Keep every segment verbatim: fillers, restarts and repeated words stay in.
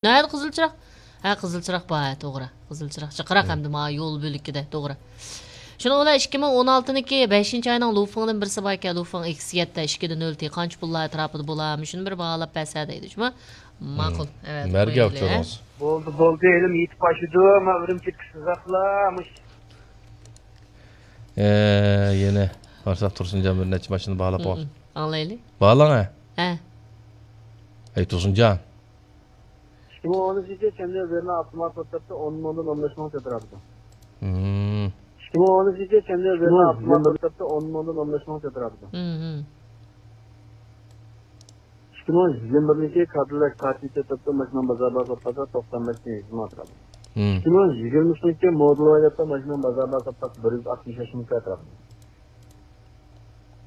نەدە قىزىل چىراغ؟ ھە، قىزىل چىراغ بار، ھە، توغرا. قىزىل چىراغ، چىراغ ھەمدە ما يول بۆلىكىدە، توغرا. شۇنىڭ بىلەن ئىككى مىڭ ئون ئالتىنىڭكى بەشىنچى ئاينىڭ لۇفىڭدىن بىرسى باركەن، لۇفىڭ ئېكس يەتتە، ئىككىدە نۆل تى، قانچە پۇللار ئەتراپىدا بولا، مۇشۇنى بىر باھالاپ بەرسە دەيدۇ، شۇمۇ؟ ماقۇل. ئەۋەتىپ مەرگە قويايلى، ھە؟ ئۇچۇرىڭىز. بولدى، بولدى، ھېلىمۇ يېتىپ ئاشىدۇ، ما ئۈرۈمچىدىكى سىزاقلار، مۇش. ئە، يەنە قارىساق، تۇرسۇنجان بىر نەچچە ماشىنا باھالاپ قويغان. ئاڭلايلى. باھالاڭ، ھە؟ ھە. ئەي، تۇرسۇنجان. ئىككى مىڭ ئون ئۈچىنچى يىل چەندە بېرنا ئاپتومات ئوتتۇرىپتۇ، ئون مىڭدىن ئون بەش مىڭ كۆتۈرۈپتۇ. مم. ئىككى مىڭ ئون ئۈچىنچى يىل چەندە بېرنا ئاپتومات ئوتتۇرىپتۇ، ئون مىڭدىن ئون بەش مىڭ كۆتۈرۈپتۇ. مم. ئىككى مىڭ يىگىرمە بىرىنچى كادىللاك كارتىنى سېتىپتۇ، ماشىنا بازار باھاسى سوتقانسا توقسان بەش مىڭ يۈز مىڭ ئەتراپىدا. مم. ئىككى مىڭ يىگىرمە ئۈچىنچى مودېل ۋايلىقتا ماشىنا بازار باھاسى سوتقانسا بىر يۈز ئاتمىش بەش مىڭ ئەتراپىدا.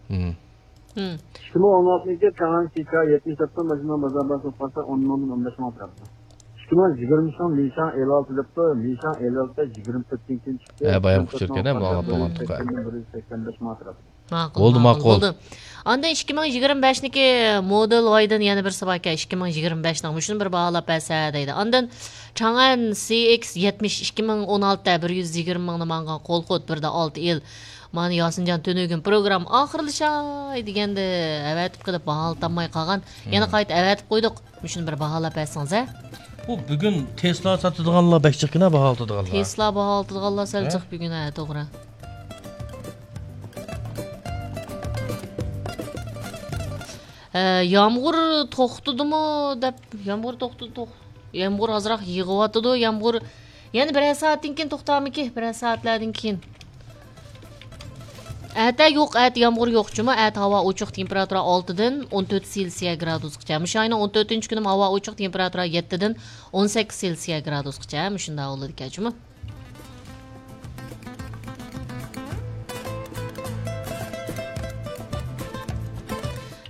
مم. مم. ئىككى مىڭ ئون ئالتىنچى چاڭئەن سى كا يەتمىش دەپتۇ، ماشىنا بازار باھاسى سوتقانسا ئون مىڭدىن ئون بەش مىڭ ئەتراپىدا. ئىككى مىڭ يىگىرمە ئۈچىنچى لىشاڭ ئېل ئالتە دەپتۇ، لىشاڭ ئېل ئالتە يىگىرمە تۆتتىن كېيىن چىقتى. ھە، بايام ئۇچۇركەن، ھە، ماڭا بولغان توقاي. بىر يۈز سەكسەن بەش مىڭ ئەتراپىدا. ماقۇل، ماقۇل، بولدى. ئاندىن ئىككى مىڭ يىگىرمە بەشنىڭكى مودېل ۋايدىن يەنە بىرسى باركەن، ئىككى مىڭ يىگىرمە بەشنىڭ مۇشۇنى بىر باھالاپ بەرسە دەيدۇ. ئاندىن چاڭئەن سى ئېكس يەتمىش ئىككى مىڭ ئون ئالتە، بىر يۈز يىگىرمە مىڭنى ماڭغان قول قۇت، بىردە ئالتە يىل. مانا ياسىنجان تۈنۈگۈن پروگرامما ئاخىرلىشاي دېگەندە ئەۋەتىپ قېلىپ باھالىتالماي قالغان. يەنە قايتا ئەۋەتىپ قويدۇق. مۇشۇنى بىر باھالاپ بەرسىڭىز، ھە؟ بۇ بۈگۈن تېسلا ساتىدىغانلار بەك جىقكىنا باھالىتىدىغانلار. تېسلا باھالىتىدىغانلار سەل جىق بۈگۈن، ھە، توغرا. ھە، يامغۇر توختىدىمۇ دەپ، يامغۇر توختىدى، توخ-، يامغۇر ئازراق يېغىۋاتىدۇ، يامغۇر يەنە بىرەر سائەتتىن كېيىن توختارمىكى؟ بىرەر سائەتلەردىن كېيىن. ئەتە يوق، ئەتە يامغۇر يوق جۇمۇ. ئەتە ھاۋا ئوچۇق، تېمپېراتۇرا ئالتىدىن ئون تۆت سېلسىيە گرادۇسقىچە. مۇشۇ ئاينىڭ ئون تۆتىنچى كۈنى ھاۋا ئوچۇق، تېمپېراتۇرا يەتتىدىن ئون سەككىز سېلسىيە گرادۇسقىچە. مۇشۇنداق بولىدىكەن جۇمۇ.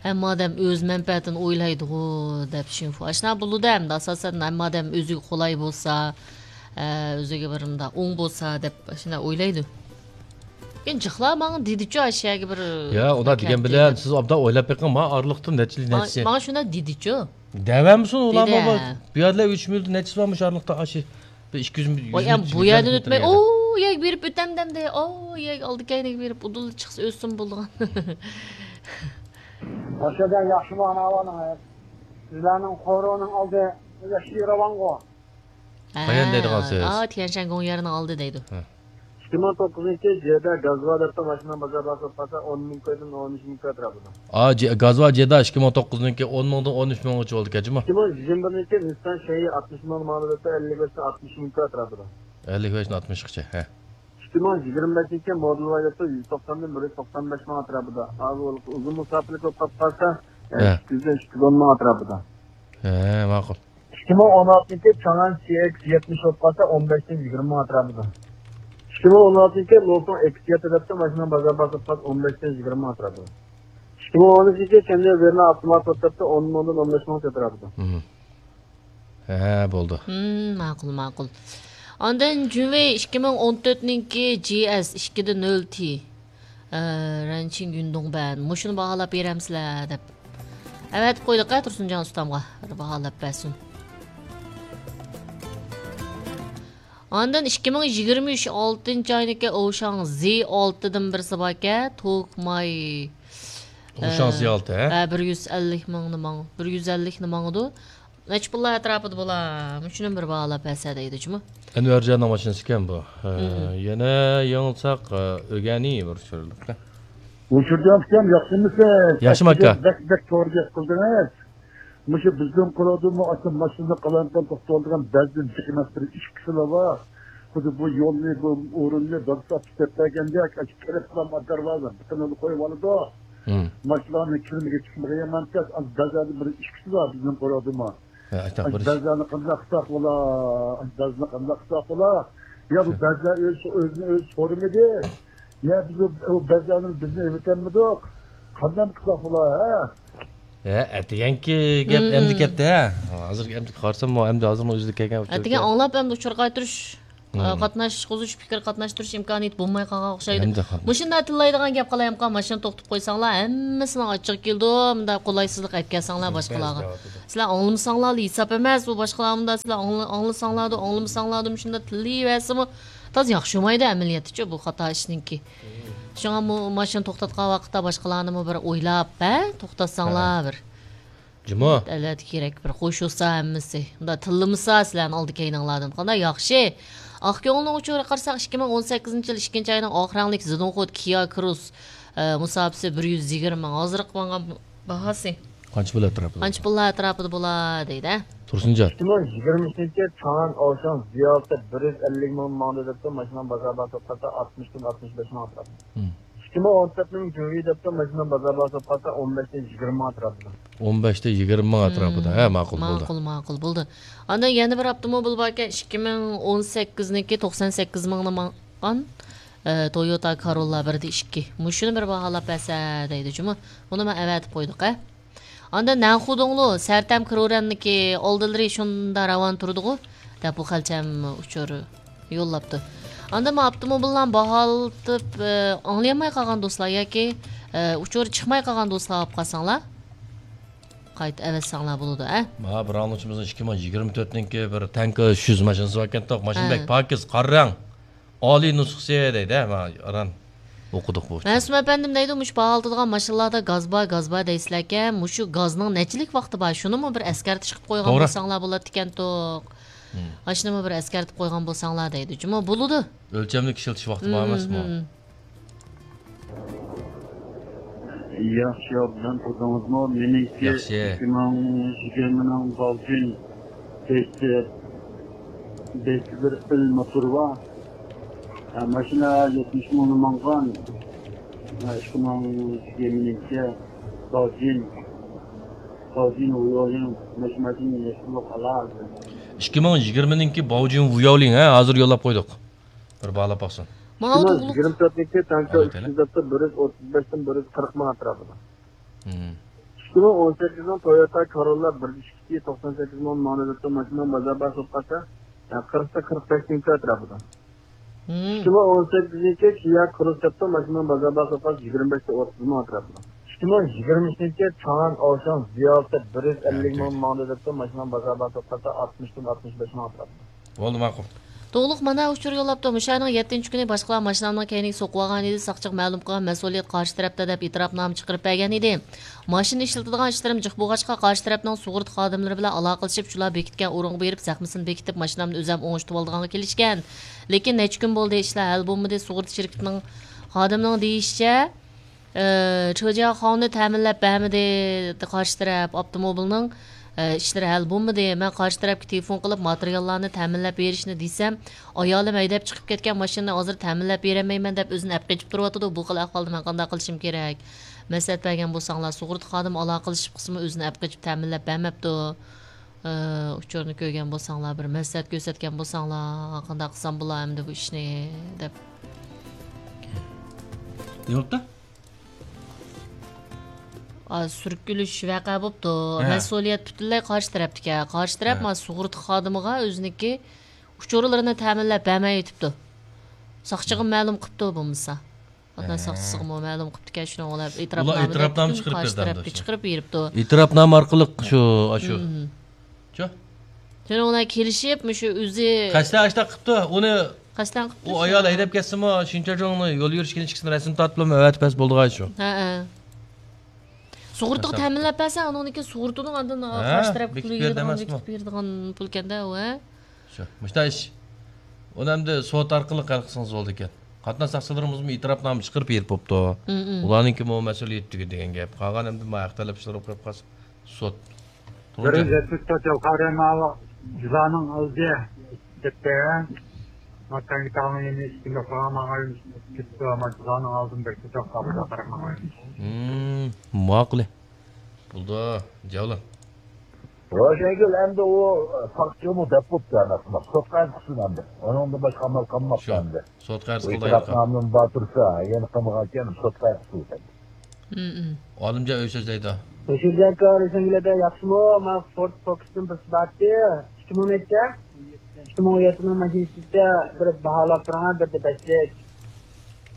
ھەممە ئادەم ئۆز مەنپەئەتىنى ئويلايدىغۇ دەپ شىنفۇ. ئاشۇنداق بولىدۇ ئەمدى، ئاساسەن ھەممە ئادەم ئۆزىگە قولاي بولسا، ئە، ئۆزىگە بىر مۇنداق ئوڭ بولسا دەپ شۇنداق ئويلايدۇ. لېكىن جىقلار ماڭا دېدىچۇ، ئاشۇ يەرگە بىر يا، ئۇنداق دېگەن بىلەن سىز ئوبدان ئويلاپ بېقىڭ، ماڭا ئارىلىقتىن نەچچە يىل، ماڭا، نەچچە ماڭا شۇنداق دېدىچۇ. دەۋەمسۇن ئۇلارمۇ دېدى. بۇ يەردىلەر ئۆچمىلىدۇ، نەچچىسى بارمۇ شۇ ئارىلىقتا ئاشۇ بىر ئىككى يۈز ۋاي، ئەم، بۇ يەردىن ئۆتمەي، ئو يەرگە بېرىپ ئۆتەمدەمدى، ئو يەرگە ئالدى كەينىگە بېرىپ ئۇدۇل چىقسا ئۆتسىمۇ بولىدىغان. ئاشۇ ياخشىمۇ ئانا ئاۋانىڭ؟ سىزلەرنىڭ قورۇنىڭ ئالدى ياخشى راۋانغۇ. قايان دەيدىغانسىز؟ ئا، تيەنشەن گوڭيەرنىڭ ئالدى دەيدۇ. ھە. ئىككى مىڭ توققۇزىنچى جېدا گازۋا دەپتۇ، ماشىنا بازار باھاسى سوتقانسا ئون مىڭ كويدىن ئون ئۈچ مىڭ كوي ئەتراپىدا. ئا، جې-، گازۋا جېدا ئىككى مىڭ توققۇزنىڭكى ئون مىڭدىن ئون ئۈچ مىڭغىچە بولدىكەن جۇمۇ. ئىككى مىڭ يىگىرمە بىرىنچى نىسسان شەيئى ئاتمىش مىڭ ماڭىدۇ دەپتۇ، ئەللىك بەشتىن ئاتمىش مىڭ كوي ئەتراپىدا. ئەللىك بەشتىن ئاتمىشقىچە، ھە. ئىككى مىڭ يىگىرمە بەشىنچى مودېل ۋايلىقتا يۈز توقساندىن بىر يۈز توقسان بەش مىڭ ئەتراپىدا. ھازىر ئۇزۇن مۇساپىلىك بولۇپ قالسا، ھە، ئىككى يۈزدىن ئىككى يۈز ئون مىڭ ئەتراپىدا. ھە، ماقۇل. ئىككى مىڭ ئون ئالتىنچى چاڭئەن سى ئېكس يەتمىش بولۇپ قالسا، ئون بەشتىن يىگىرمە مىڭ ئەتراپىدا. ئىككى مىڭ ئون ئالتىنچى لوسۇڭ ئېكس يەتتە دەپتۇ، ماشىنا بازار باھاسى ئون بەشتىن يىگىرمە مىڭ ئەتراپىدا. ئىككى مىڭ ئون ئۈچىنچى چەندە بېرنا ئاپتومات سوتۇپتۇ، ئون مىڭدىن ئون بەش مىڭ ئەتراپىدا. مم. ھە، بولدى. ھىم، ماقۇل، ماقۇل. ئاندىن جۈنۋېي ئىككى مىڭ ئون تۆتنىڭكى جى ئەس ئىككىدە نۆل تى. ئە، رەنچىڭ يۈندۇڭبەن. مۇشۇنى باھالاپ بېرەمسىلەر دەپ. ئەۋەتىپ قويدۇق ھە تۇرسۇنجان ئۇستامغا. بىر باھالاپ بەرسۇن. ئاندىن ئىككى مىڭ يىگىرمە ئۈچ ئالتىنچى ئاينىڭكى ئوشاڭ زى ئالتىدىن بىرسى باركەن. توك ماي. ئوشاڭ ئە، زى ئالتە، ھە؟ ھە، بىر يۈز ئەللىك مىڭنى ماڭ-، بىر يۈز ئەللىكنى ماڭىدۇ. نەچچە پۇللار ئەتراپىدا بولا؟ مۇشۇنى بىر باھالاپ بەرسە دەيدۇ جۇمۇ. ئەنۋەرجاننىڭ ماشىنىسى ئىكەن بۇ. ھە، مم. يەنە يېڭىلساق، ئە، ئۆگەنى بىر چۈشۈرۈلۈپ. ھوشۇرجان ئۇكام، ياخشىمۇسىز؟ ياخشىمۇ ئاكا؟ بەك، بەك توغرا گەپ قىلدىڭىز. مۇشۇ بىزنىڭ قۇرۇلدىمۇ ئاشۇ ماشىنا قالايمىقان توختىتىۋالىدىغان بەزى جىق ئەمەس بىر ئىككى كىشىلا بار. خۇددى بۇ يولنى، بۇ ئورۇننى بىر سائەت ئىشلەپ بەرگەندەك، ئاشۇ كىرىپ قالغان دەرۋازا بىتىنىلا قويۇۋالىدۇ. مم. ماشىنىلارنىڭ كىرىمىگە چىقمىغان يامان تەس. ئاشۇ بەزىلەردىن بىر ئىككىسى بار بىزنىڭ قۇرۇلدىمۇ. ھە، ئاشۇنداق بىر ئىش. بەزىلەرنى قانداق قىلساق بولا؟ بەزىلەرنى قانداق قىلساق بولا؟ يا بۇ بەزىلەر ئۆزى، ئۆزىنى ئۆزى سورىمىدى. يا بىز ئۇ، ئۇ بەزىلەرنى بىزنى ئېۋىتەلمىدۇق. قانداق قىلساق بولا، ھە؟ ھە، ئەتىگەنكى گەپ مم. ئەمدى كەتتى، ھە؟ ھازىر ئەمدى قارىسام، ئەمدى ھازىرمۇ ئۆزىدە كەلگەن ئەتىگەن ئاڭلاپ ئەمدى ئۇچۇر قايتۇرۇش. مم. قاتناشقۇزۇش، پىكىر قاتناشتۇرۇش ئىمكانىيىتى بولماي قالغان ئوخشايدۇ. ھەمدە قاتناش- مۇشۇنداق تىللايدىغان گەپ قىلايمىقان، ماشىنا توختىتىپ قويساڭلار، ھەممىسىنىڭ ئاچچىقى كېلىدۇ، مۇنداق قولايسىزلىق ئەپ كەلسەڭلار باشقىلارغا. سىلەر ئاڭلىمىساڭلارلا ھېساب ئەمەس، ئۇ باشقىلار مۇنداق سىلەر ئاڭلا-، ئاڭلىساڭلاردۇ، ئاڭلىمىساڭلاردۇ، مۇشۇنداق تىللىيىۋەرسىمۇ تازا ياخشى بولمايدۇ ئەمەلىيەتتىچۇ بۇ خاتا ئىشنىڭكى. شۇڭا مۇ-، ماشىنا توختاتقان ۋاقىتتا باشقىلارنىمۇ بىر ئويلاپ، ھە، توختاتساڭلار ھە. بىر. جۇمۇ. ئەلۋەتتە كېرەك، بىر قوشۇلسا ھەممىسى. مۇنداق تىللىمىسا سىلەرنى ئالدى كەينىڭلاردىن. قانداق ياخشى. ئاق كۆڭۈلنىڭ ئۇچۇرىغا قارىساق، ئىككى مىڭ ئون سەككىزىنچى يىل ئىككىنچى ئاينىڭ ئاخىرىڭلىك زىدونخوت كىيا كروس، ئە، مۇساپىسى بىر يۈز يىگىرمە مىڭ. ھازىرقى ماڭغان باھاسى. قانچە پۇل ئەتراپىدا؟ قانچە پۇل ئەتراپىدا بولا دەيدۇ. تۇرسۇنجان. ئىككى مىڭ يىگىرمە ئۈچىنچى يىل چاڭئەن ئاۋشاڭ زىياۋۇتى بىر يۈز ئەللىك مىڭ ماڭدى دەپتۇ، ماشىنا بازار باھاسى قارىسا ئاتمىشتىن ئاتمىش بەش مىڭ ئەتراپىدا. مم. ئىككى مىڭ ئون تۆتنىڭ جۇڭيى دەپتۇ، ماشىنا بازار باھاسى قارىسا ئون بەشتىن يىگىرمە مىڭ ئەتراپىدا. ئون بەشتىن يىگىرمە مىڭ ئەتراپىدا. ھە، ماقۇل بولدى. ماقۇل، ماقۇل بولدى. ئاندىن يەنە بىر ئاپتوموبىل باركەن، ئىككى مىڭ ئون سەككىزنىڭكى توقسان سەككىز مىڭنى ماڭغان، ئە، تويوتا كارولا بىر دە ئىككى. مۇشۇنى بىر باھالاپ بەرسە دەيدۇ جۇمۇ. بۇنى مەن ئەۋەتىپ قويدۇق، ھە. ئاندىن نەنخۇدۇڭلۇ سەرتەم كرورەننىكى ئالدىلىرى شۇنداق راۋان تۇرىدىغۇ دەپ بۇ خەلچەم ئۇچۇر يوللاپتۇ. ئاندىن مانا ئاپتوموبىللارنى باھالىتىپ، ئە، ئاڭلىيالماي قالغان دوستلار ياكى، ئە، ئۇچۇر چىقماي قالغان دوستلار ئاپ قالساڭلار، قايتا ئەۋەتسەڭلار بولىدۇ، ئە. مانا بىر ئاڭلىغۇچىمىزنىڭ ئىككى مىڭ يىگىرمە تۆتنىڭكى بىر تەنكا ئۈچ يۈز ماشىنىسى باركەنتۇق. ماشىنا ھە. بەك پاكىز، قارا رەڭ. ئالىي نۇسخىسى دەيدۇ، ھە، مانا ئاران ئوقۇدۇق بۇ. مەسۇم ئەپەندىم دەيدۇ، مۇشۇ باھالىتىدىغان ماشىنىلاردا گاز بار، گاز بار دەيسىلەركەن، مۇشۇ گازنىڭ نەچچىلىك ۋاقتى بار، شۇنىمۇ بىر ئەسكەرتىش قىلىپ قويغان توغرا. بولساڭلار بولاتتىكەنتۇق. مم. ئاشۇنىمۇ بىر ئەسكەرتىپ قويغان بولساڭلار دەيدۇ. جۇمۇ بولىدۇ. ئۆلچەملىك ئىشلىتىش ۋاقتى بار ئەمەسمۇ؟ مم. ياخشى، ئوبدان تۇردىڭىزمۇ؟ مېنىڭكى ياخشى. ئىككى مىڭ يىگىرمىنىڭ باۋجىن بەش، بەش بىر ئېل موتورى بار. ھە، ماشىنا يەتمىش مىڭنى ماڭغان. ھە، ئىككى مىڭ يىگىرمىنىڭكى باۋجىن، باۋجىن ۋۇياۋلىڭ ماشىنا يەتمىش مىڭ ئالا. ئىككى مىڭ يىگىرمىنىڭكى باۋجىن ۋۇياۋلىڭ، ھە، ھازىر يوللاپ قويدۇق. بىر بالا باقسۇن. ماڭا ئىككى مىڭ يىگىرمە تۆتنىڭكى تانكا ئالايتەيلى. ئۈچ يۈز دەپتۇ، بىر يۈز ئوتتۇز بەشتىن بىر يۈز قىرىق مىڭ ئەتراپىدا. مم. ئىككى مىڭ ئون سەككىزنىڭ تويوتا كارولا بىر يۈز ئىككى، توقسان سەككىز مىڭ ماڭدى دەپتۇ، ماشىنا بازار باھاسى بولۇپ قالسا، يا قىرىقتىن قىرىق بەش مىڭ ئەتراپىدا. مم. ئىككى مىڭ ئون سەككىزنىڭكى كىيا كروس دەپتۇ، ماشىنا بازار باھاسى بولۇپ قالسا، يىگىرمە بەشتىن ئوتتۇز مىڭ ئەتراپىدا. ئىككى مىڭ يىگىرمە ئۈچىنچى چاڭئەن ئاۋشاڭ زىياۋۇتى بىر يۈز ئەللىك مىڭ ماڭدى دەپتۇ، ماشىنا بازار باھاسى قارىسا ئاتمىشتىن ئاتمىش بەش مىڭ ئەتراپىدا. بولدى، ماقۇل. توغلۇق مانا ئۇچۇر يوللاپتۇ. مۇشۇ ئاينىڭ يەتتىنچى كۈنى باشقىلار ماشىنامنىڭ كەينىگە سوقۇۋالغان ئىدى، ساقچىغا مەلۇم قىلغان مەسئۇلىيەت قارشى تەرەپتە دەپ ئېتىراپنامە چىقىرىپ بەرگەن ئىدى. ماشىنا ئىشلىتىدىغان ئىشلىرىم جىق بولغاچقا، قارشى تەرەپنىڭ سۇغۇرتا خادىملىرى بىلەن ئالاقىلىشىپ، شۇلار بېكىتكەن ئورۇنغا بېرىپ زەخمىسىنى بېكىتىپ، ماشىنامنى ئۆزەم ئوڭشىتىۋالىدىغانغا كېلىشكەن. لېكىن نەچچە كۈن بولدى، ئىشلار ھەل بولمىدى. سۇغۇرتا شىركىتىنىڭ خادىمىنىڭ دېيىشىچە، ئى، چېجياخاۋنى تەمىنلەپ بەرمىدى، قارشى تەرەپ ئاپتوموبىلنىڭ، ئى، ئىشلىرى ھەل بولمىدى. مەن قارشى تەرەپكە تېلېفون قىلىپ، ماتېرىياللارنى تەمىنلەپ بېرىشنى دېسەم، ئايالىم ھەيدەپ چىقىپ كەتكەن ماشىنىنى ھازىر تەمىنلەپ بېرەلمەيمەن دەپ ئۆزىنى ئەپ قېچىپ تۇرۇۋاتىدۇ. بۇ خىل ئەھۋالدا مەن قانداق قىلىشىم كېرەك؟ مەسلىھەت بەرگەن بولساڭلار، سۇغۇرتا خادىمى ئالاقىلىشىپ قىلسىمۇ ئۆزىنى ئەپ قېچىپ تەمىنلەپ بەرمەپتۇ. ئى، ئۇچۇرنى كۆرگەن بولساڭلار، بىر مەسلىھەت كۆرسەتكەن بولساڭلار، قانداق قىلسام بولا ئەمدى بۇ ئىشنى دەپ. نېمە بوپتۇ؟ ئا، سۈركىلىش ۋەقە بوپتۇ. ھە. مەسئۇلىيەت پۈتۈنلەي قارشى تەرەپتىكەن. قارشى تەرەپ ھە. مانا سۇغۇرتا خادىمىغا ئۆزىنىڭكى ئۇچۇرلىرىنى تەمىنلەپ بەرمەيۋېتىپتۇ. ساقچىغا ھە. مەلۇم قىپتۇ بولمىسا. ۋەتەن ھە. ساقچىسىغىمۇ مەلۇم قىپتىكەن، شۇنىڭ بىلەن ئۇلار ئېتىراپنامىدە ئېتىراپنامە پۈتۈن چىقىرىپ قارشى بەردى تەرەپكە ئەمدى شۇ. چىقىرىپ بېرىپتۇ. ئېتىراپنامە ئارقىلىق شۇ، ئاشۇ. مم. شۇ؟ شۇنىڭ بىلەن كېلىشىپ، مۇشۇ ئۆزى قەستەن ئاشۇنداق قىپتۇ، ئۇنى قەستەن قىپتۇ ئۇ شۇ. ئايال ھەيدەپ كەتسىمۇ، شىنچاجۇڭنى يول يۈرۈشكە ئىككىسىنى رەسىم تارتىپ ئەۋەتىپ بەرسە بولىدىغان شۇ. ھە، ھە. سۇغۇرتىغا قەستەن تەمىنلەپ بەرسە، ئۇنىڭدىن كېيىن سۇغۇرتىنىڭ ئاندىن ھە، قارشى تەرەپكە بېكىتىپ پۇل بېرىدۇ يېگىدىغان، ئەمەسمۇ؟ بېكىتىپ بېرىدىغان پۇل ئىكەندە ئۇ، ھە؟ شۇ، مۇشۇنداق ئىش. ئۇنى ئەمدى سوت ئارقىلىق ھەل قىلسىڭىز بولىدىكەن. قاتناش ساقچىلىرىمىزمۇ ئېتىراپنامە چىقىرىپ بېرىپ بوپتۇ. مم، مم. ئۇلارنىڭكىمۇ مەسئۇلىيىتى تۈگىدى دېگەن گەپ. قالغان ئەمدى مانا ھەق تەلەپ ئىشلىرى قويۇپ قالسا سوت. بىر يۈز يەتمىش تۆت يىل قارىماۋۇ جىزانىڭ ئالدى دەپتۇ. ما تەڭگە تاغنىڭ يېنى ئىككى كىلو قىلغان ماڭا كېتىپتۇ. ما جىزانىڭ ئالدىدىن بىر كىلو قاپىدا قاراپ ماڭا. مم، ماقۇل. بولدى، جاۋلان. روشەنگۈل ئەمدى ئۇ ساقچىمۇ دەپ بوپتۇ ئەمەسمۇ؟ سوتقا ئەرز قىلسۇن ئەمدى. ئۇنىڭدىن باشقا ئامال قالماپتۇ شۇ، ئەمدى. سوتقا ئەرز ئۇ قىلدى ئېتىراپنامىنى بار تۇرسا، يەنە قىلمىغانكەن، سوتقا ئەرز قىلسۇن ئەمدى. مم، مم. ئالىمجان ئۆي سۆزلەيدۇ. روشەنگۈل ئاكا، روشەنگۈل ئاكا، ياخشىمۇ؟ مانا فورد فوكۇستىن بىرسى بارتى. ئىككى مىڭ نەچچە؟ ئىككى مىڭ ئون يەتتىنىڭ ماشىنىسىچە بىر باھالاپ بېرىڭە، بىردە بەشلىك.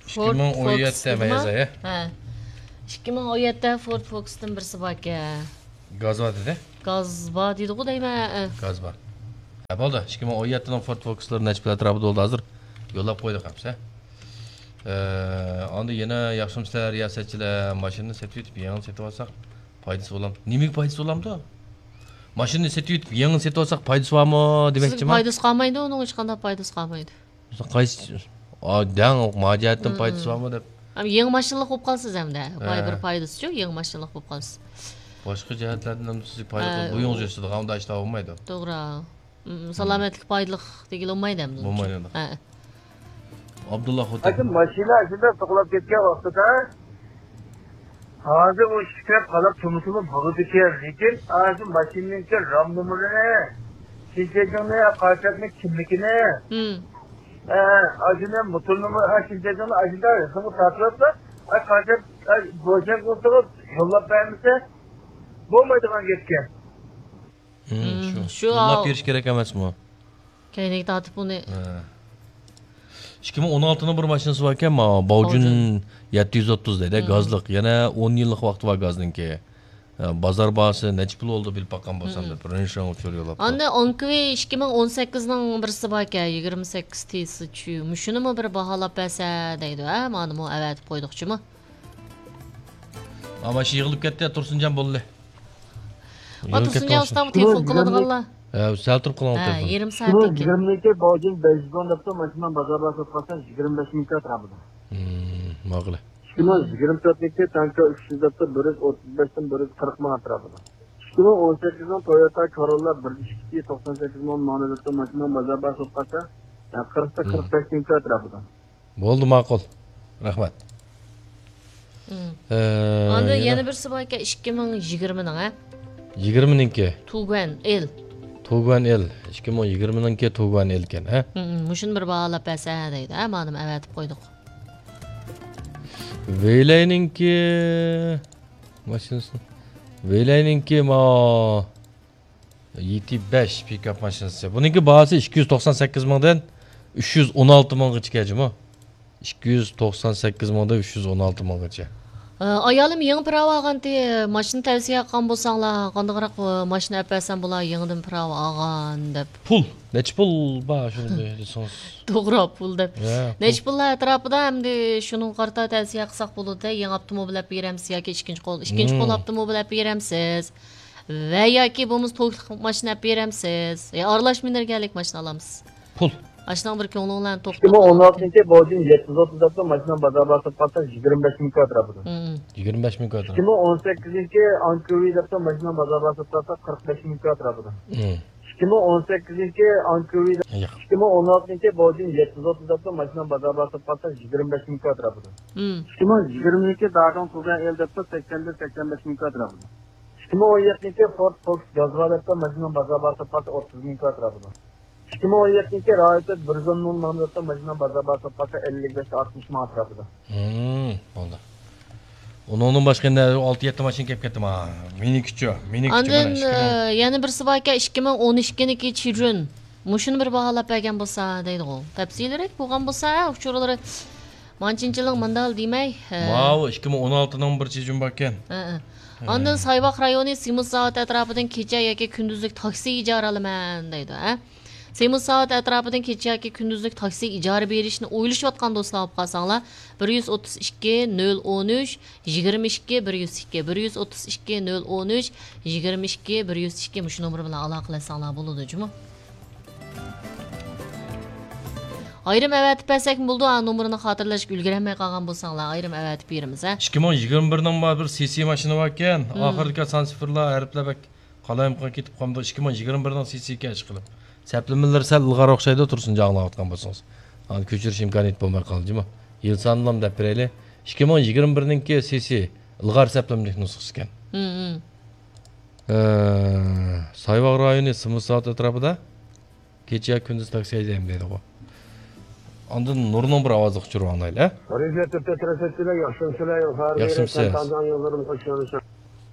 ئىككى مىڭ ئون يەتتە مەيەزە، ھە؟ ھە. ئىككى مىڭ ئون يەتتە فورد فوكستىن بىرسى باركەن. گاز بار دېدى. گاز بار دېدىغۇ دەيمەن، ھە. گاز بار. ھە، بولدى. ئىككى مىڭ ئون يەتتىنىڭ فورد فوكسلىرى نەچچە پۇل ئەتراپىدا بولدى ھازىر؟ يوللاپ قويدۇق ھەمسە. ئە، ئاندىن يەنە ياخشىمۇسىلەر، رىياسەتچىلەر، ماشىنىنى سېتىۋېتىپ، يېڭىنى سېتىۋالساق پايدىسى بولام. نېمىگە پايدىسى بولامدۇ؟ ماشىنىنى سېتىۋېتىپ، يېڭىنى سېتىۋالساق پايدىسى بارمۇ دېمەكچىما؟ پايدىسى قالمايدۇ، ئۇنىڭ ھېچقانداق پايدىسى قالمايدۇ. قايسى، ئا، دەڭ، ماجىيەتتىن پايدىسى بارمۇ دەپ. ھەم يېڭى ماشىنىلىق بولۇپ قالىسىز ھەمدە. ۋاي، بىر پايدىسىچۇ، يېڭى ماشىنىلىق بولۇپ قالىسىز. باشقا جەھەتلەردىن ھەم سىزگە پايدا قىلىپ، بويىڭىز يەتسىدۇ، ئۇندا ئىشتا بولمايدۇ. توغرا. ئۇم، سالامەتلىككە پايدىلىق دېگىلى بولمايدۇ ھەمدە. بولمايدۇ. ھە. ئابدۇللا خوتەن. ھاكىم، ماشىنا ئىچىدە توقلاپ كەتكەن ۋاقتىدا، ھازىر ئۇ ئىككى تەرەپ قالاپ تۇرمىسىمۇ بولىدىكەن، لېكىن ھازىر ماشىنىنىڭكى رام نومۇرىنى، شىنچەجىڭنى، قاچاكنىڭ كىملىكىنى، ھە، ئاشۇنى موتور نومۇرى، ئا، شىنچەجىڭنى ئاشۇنداق رەسىمگە تارتىۋەتسە، ئا، قاچاك، ئا، بوشاق بولسىغۇ يوللاپ بەرمىسە بولمايدىغان گەپكەن. ھىم، شۇ. شۇ يوللاپ بېرىش كېرەك ئەمەسمۇ؟ كەينىگە تارتىپ ئۇنى. ھە. ئىككى مىڭ ئون ئالتىنىڭ بىر ماشىنىسى باركەن، ماۋۇ باۋجۈن يەتتە يۈز ئوتتۇز دەيدۇ، گازلىق. يەنە ئون يىللىق ۋاقتى بار گازنىڭكى. ھە، بازار باھاسى نەچچە پۇل بولدى بىل باققان بولسام دەپ، رېنج روۋېر ئۇچۇر يوللاپتۇ. ئاندىن ئانكوۋى ئىككى مىڭ ئون سەككىزنىڭ بىرسى باركەن، يىگىرمە سەككىز تىسىچ. مۇشۇنىمۇ بىر باھالاپ بەرسە دەيدۇ، ھە، مانىمۇ ئەۋەتىپ قويدۇقچىمۇ؟ ئا، ماشىنا يىغىلىپ كەتتى، تۇرسۇنجان بولدى. ئا، تۇرسۇنجان ئۇستام، تېلېفون قىلىدىغانلار. ھە، سەل تۇرۇپ قىلىڭ تېلېفون. يېرىم سائەتتىن كېيىن. يىگىرمە ئىككى باۋجىن بەش يۈز ئون دەپتۇ، ماشىنا بازار باھاسى ساتقانسەن يىگىرمە بەش مىڭ كاترا بۇدا. ھىم، ماقۇل. ئىككى مىڭ يىگىرمە تۆتنىڭكى تانكا ئۈچ يۈز دەپتۇ، بىر يۈز ئوتتۇز بەشتىن بىر يۈز قىرىق مىڭ ئەتراپىدا. ئىككى مىڭ ئون سەككىزنىڭ تويوتا كاروللا بىر ئىككى توقسان سەككىز مىڭ ماڭدى دەپتۇ، ماشىنا بازار باھاسى ساتقانسەن قىرىقتا قىرىق بەش مىڭ كاترا بۇدا. بولدى، ماقۇل. رەھمەت. ئاندىن يەنە بىرسى بار ئىكەن، ئىككى مىڭ يىگىرمىنىڭ، ھە؟ يىگىرمىنىڭكى. تۇگۇەن ئېل. تۇگۇەن ئېل. ئىككى مىڭ يىگىرمىنىڭكى تۇگۇەن ئېلكەن، ھە؟ مۇشۇنى بىر باھالاپ بەرسە دەيدۇ، ھە؟ مانا ئەۋەتىپ قويدۇق. ۋېيلەينىڭكى ماشىنىسى. ۋېيلەينىڭكى ما يېتى بەش پىكاپ ماشىنىسى. بۇنىڭكى باھاسى ئىككى يۈز توقسان سەككىز مىڭدىن ئۈچ يۈز ئون ئالتە مىڭغىچە جۇمۇ. ئىككى يۈز توقسان سەككىز مىڭدىن ئۈچ يۈز ئون ئالتە مىڭغىچە. ئايالىم يېڭى پىراۋا ئالغانتى، ماشىنا تەۋسىيە قىلغان بولساڭلار، قانداقراق ماشىنا ئەپ بەرسەم بولا، يېڭىدىن پىراۋا ئالغان دەپ. پۇل، نەچچە پۇل بار شۇنى دېسىڭىز. توغرا، پۇل دەپ. نەچچە پۇللار ئەتراپىدا، ئەمدى شۇنىڭغا قارىتا تەۋسىيە قىلساق بولىدۇ، يېڭى ئاپتوموبىل ئەپ بېرەمسىز ياكى ئىككىنچى قول، ئىككىنچى قول ئاپتوموبىل ئەپ بېرەمسىز؟ ۋە ياكى بولمىسا توكلۇق ماشىنا ئەپ بېرەمسىز؟ يا ئارىلاش مىنېرگىيەلىك ماشىنا ئالامسىز؟ پۇل. ئاشۇنىڭ بىر كۆڭلۈڭلارنى توقۇتۇپ. ئىككى مىڭ ئون ئالتىنچى بوجىن يەتتە يۈز ئوتتۇز دەپتۇ، ماشىنا بازار باھاسى پاتسا يىگىرمە بەش مىڭ كاترا بۇدا. يىگىرمە بەش مىڭ كاترا. ئىككى مىڭ ئون سەككىزىنچى ئانكوۋى دەپتۇ، ماشىنا بازار باھاسى پاتسا قىرىق بەش مىڭ كاترا بۇدا. ئىككى مىڭ ئون سەككىزىنچى ئانكوۋى، ئىككى مىڭ ئون ئالتىنچى بوجىن يەتتە يۈز ئوتتۇز دەپتۇ، ماشىنا بازار باھاسى پاتسا يىگىرمە بەش مىڭ كاترا بۇدا. ئىككى مىڭ يىگىرمىنىڭكى داگاڭ تۇگەن ئېل دەپتۇ، سەكسەندىن سەكسەن بەش مىڭ كاترا بۇدا. ئىككى مىڭ ئون يەتتىنچى فورد فوكس گازغا دەپتۇ، ماشىنىنىڭ بازار باھاسى پاتسا ئوتتۇز مىڭ كاترا بۇدا. ئىككى مىڭ ئون يەتتىنچى رايوتى بىر يۈز ئون مىڭ ماڭدى دەپتۇ، ماشىنىنىڭ بازار باھاسى پاتسا ئەللىك بەش ئاتمىش مىڭ ئەتراپىدا. ھىم، بولدى. ئۇنىڭدىن باشقا يەنە ئالتە يەتتە ماشىنا كەپ كەتتىما. مېنىڭكىچۇ، مېنىڭكىچۇ، ئاندىن، مانا ئىككى مىڭ. ئە، يەنە بىرسى باركەن، ئىككى مىڭ ئون ئىككىنىڭكى چىجۈن. مۇشۇنى بىر باھالاپ بەرگەن بولسا دەيدىغۇ. تەپسىلىيرەك بولغان بولسا، ئۇچۇرلىرى مانچىنچىلىق مىندال دېمەي. ئە. ماۋۇ ئىككى مىڭ ئون ئالتىنىڭ بىر چىجۈن باركەن. ئە، ئە. ئاندىن سايۋاق رايونى سىمۇس زاۋۇتى ئەتراپىدىن كېچە ياكى كۈندۈزلۈك تاكسى ئىجارە ئالىمەن دەيدۇ، ھە؟ سىمۇس زاۋۇتى ئەتراپىدىن كېچە ياكى كۈندۈزلۈك تاكسى ئىجارە بېرىشنى ئويلىشىۋاتقان دوستلار بولۇپ قالساڭلار، بىر يۈز ئوتتۇز ئىككى، نۆل ئون ئۈچ، يىگىرمە ئىككى، بىر يۈز ئىككى، بىر يۈز ئوتتۇز ئىككى، نۆل ئون ئۈچ، يىگىرمە ئىككى، بىر يۈز ئىككى مۇشۇ نومۇر بىلەن ئالاقىلەشسەڭلار بولىدۇ جۇمۇ. ئايرىم ئەۋەتىپ بەرسەكمۇ بولىدۇ، ئا، نومۇرىنى خاتىرىلەشكە ئۈلگۈرەلمەي قالغان بولساڭلار، ئايرىم ئەۋەتىپ بېرىمىز، ھە؟ ئىككى مىڭ يىگىرمە بىرنىڭ بار بىر سىسى ماشىنا باركەن، ھىم. ئاخىرىدىكى سان سىفىرلار، ھەرپلەر بەك قالايمىقان كېتىپ قالمىدۇ، ئىككى مىڭ يىگىرمە بىرنىڭ سىسىكەن ئىشقىلىپ. سەپلىمىلىرى سەل ئىلغار ئوخشايدۇ، تۇرسۇنجان ئاڭلاۋاتقان بولسىڭىز. ئاندىن كۆچۈرۈش ئىمكانىيىتى بولماي قالدى جۇمۇ. يىل سانىنىلا دەپ بېرەيلى. ئىككى مىڭ يىگىرمە بىرنىڭكى سىسى ئىلغار سەپلىمىلىك نۇسخىسىكەن. ھىم، ھىم. ئە، سايۋاغ رايونى سىمۇس زاۋۇت ئەتراپىدا. كېچە كۈندۈز تاكسى ھەيدەيمەن دەيدىغۇ. ئاندىن نۇرنىڭ بىر ئاۋازلىق ئۇچۇرى ئاڭلايلى، ھە؟ رېزىدېنتتا تىرىشىتچىلەر ياخشىمسىلەر؟ ياخشىمسىز. ياخشىمسىز.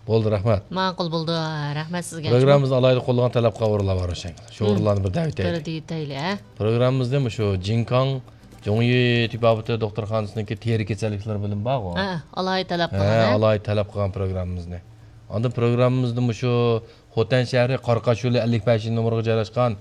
بولدى، رەھمەت. ماقۇل بولدى، رەھمەت سىزگە. پروگراممىمىزنى ئالاھىدە قوللىغان تەلەپ قىلغان ئورۇنلار بار ئوخشايدۇ. شۇ ئورۇنلارنى بىر دەۋېتەيلى. بىر دېيىتەيلى، ھە؟ پروگراممىمىزنى مۇشۇ جىنكاڭ جۇڭيى تېبابىتى دوختۇرخانىسىنىڭكى تېرە كېسەللىكلىرى بۆلۈمى بارغۇ. ھە، ئالاھىدە تەلەپ قىلغان، ھە، ھە؟ ئالاھىدە تەلەپ قىلغان پروگراممىمىزنى. ئاندىن پروگراممىمىزنى مۇشۇ خوتەن شەھىرى قاراقاش يولى ئەللىك بەشىنچى نومۇرغا جايلاشقان